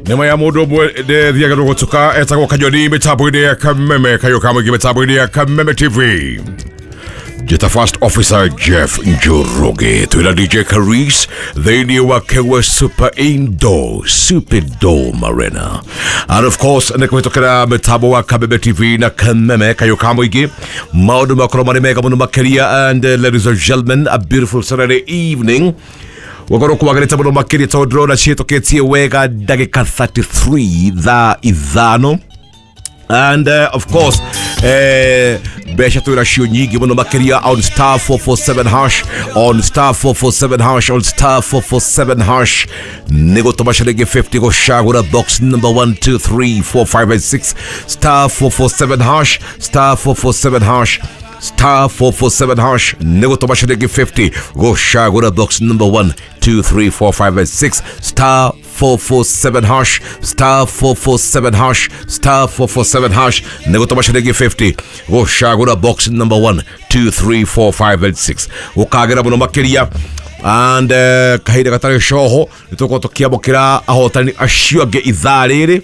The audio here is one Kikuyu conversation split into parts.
Nĩ ya mũndũ ũmwe ndĩthiaga rũgũtuka etagwo Kanyoni mĩtambo-inĩ ya Kameme kayũ ka mũingĩ mĩtambo-inĩ ya Kameme TV. Jeta First Officer Jeff Njoroge twĩna DJ Caris thĩinĩ wa Kewe Super Indoor Superdome Arena, and of course nĩ kũhĩtũkĩra mĩtambo wa Kameme TV na Kameme kayũ ka mũingĩ. Maũndũ makorwo marĩ mega mũno makĩria. And ladies and gentlemen, a beautiful Saturday evening gũkorwo kwagĩrĩte mũno makĩria tondũ ndĩrona ciĩtũkĩtie wega ndagĩka 33 thaa 5. And of course mbeca twĩna cio nyingĩ mũno makĩria on star 447 hash, on star 447 hash, on star 447 hash. Nĩ gũtũma ciringi 50 gũcagũra box number 1 2 3 4 5 and 6, star 447 hash, star 447 hash, star 447 hash. Nĩ gũtũma ciringi 50 gũcagũra box number 1 2 3 4 5 and 6, star 447 hash, star 447 hash, star 447 hash. Nĩ gũtũma ciringi 50 gũcagũra box number 1 2 3 4 5 and 6. Gũkagĩra mũno makĩria. And kahinda gatarĩ coho nĩ tũgũkorwo tũkĩamũkĩra ahotani acio angĩ ithaa rĩrĩ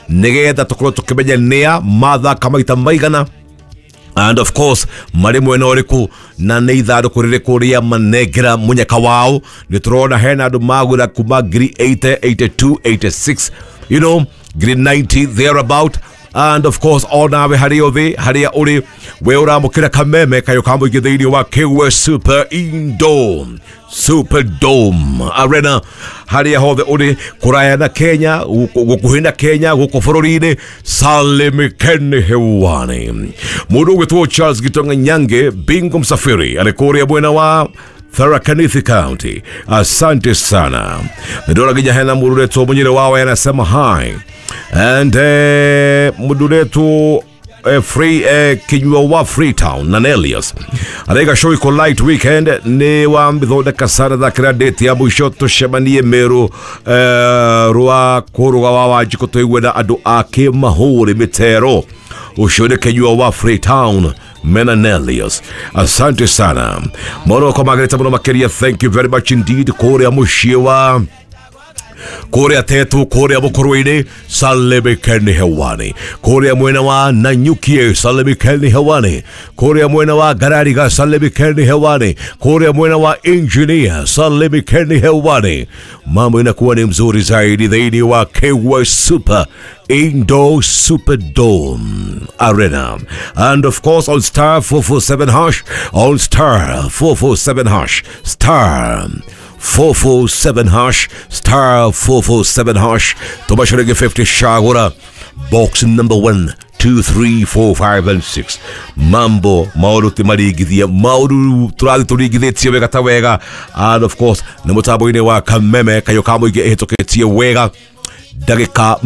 nĩgetha tũkorwo tũkĩmenya nĩa mathaka maita maigana, and of course marĩ mwena ũrĩkũ na nĩ ithandũkũ rĩrĩkũ rĩa manengera mũnyaka wao. Nĩ tũrona hena andũ magũra kuma ngiri 80, 82, 86, ngiri 90 thereabout. And of course onawe harĩa ũthĩ harĩa ũrĩ we ũramũkĩra Kameme kayũ ka mũingĩ thĩinĩ wa Kewe Super Indoor Superdome Arena harĩa hothe ũrĩ kũraya na Kenya, gũkuhĩ na Kenya, gũkũ bũrũri-inĩ, salimikeni hewani. Mũndũ ũgwĩtwo Charles Gitonga Nyange Bingo Msafiri arĩ kũrĩa mwena wa Tharaka Nithi County, asante sana. Nĩndona nginya hena mũndũ ũretwo Mũnyĩrĩ wawe anasema hi. And mũndũ ũretwo Free Kinyua wa Freetown na Nelius araiga show iko light weekend nĩ wamĩthondeka sana thakĩra date ya mũico tũcemanie Meru rwa kũrũga wa Wanjikũ tũigue na andũ a kĩmahũri mĩtero. Ũcio nĩ Kinyua wa Freetown mena Nelius, asante sana mũno kwa magĩrĩte mũno makĩria. Thank you very much indeed. Kũrĩa mũciĩ wa kũrĩa tetu kũrĩa mũkũrũ-inĩ salimikeni hewani, kũrĩa mwena wa Nanyukie salimikeni hewani, kũrĩa mwena wa Garariga salimikeni hewani, kũrĩa mwena wa Engineer salimikeni hewani. Mambo inakuwa ni mzuri zaidi thĩinĩ wa Kewe Super Indoor Superdome Arena. And of course on star 447 hash, on star 447 hash, star 447 hash, star 447 hash. Tũma ciringi 50 shagũra box number 1 2 3 4 5 and 6. Mambo maũndũ ti maringithie, maũndũ tũrathiĩ tũringithĩtie wega ta wega. And of course nĩ mũtambo-inĩ wa Kameme kayũ ka mũingĩ ĩhĩtũkĩtie wega ndagĩka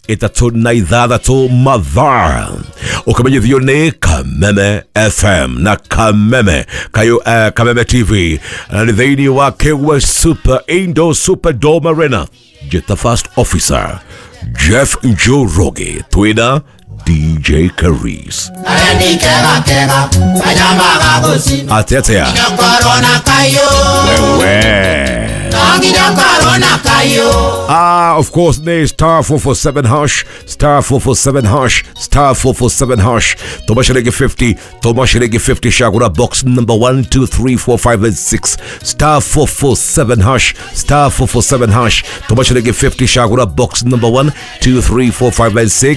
36 mathaa ũkĩmenyithio nĩ Kameme FM na Kameme kayũ Kameme TV na nĩ thĩinĩ wa Kewe Super Indoor Superdome Arena. Jeta First Officer Jeff Njoroge twĩna DJ Caris. Ateatea wewe. Of course, ne star 447 hash, star 447 hash, star 447 hash. Tũma ciringi 50, tũma ciringi 50 shagũra box number 1 2 3 4 5 and 6, star 447 hash, star 447 hash. Tũma ciringi 50 shagũra box number 1 2 3 4 5 and 6.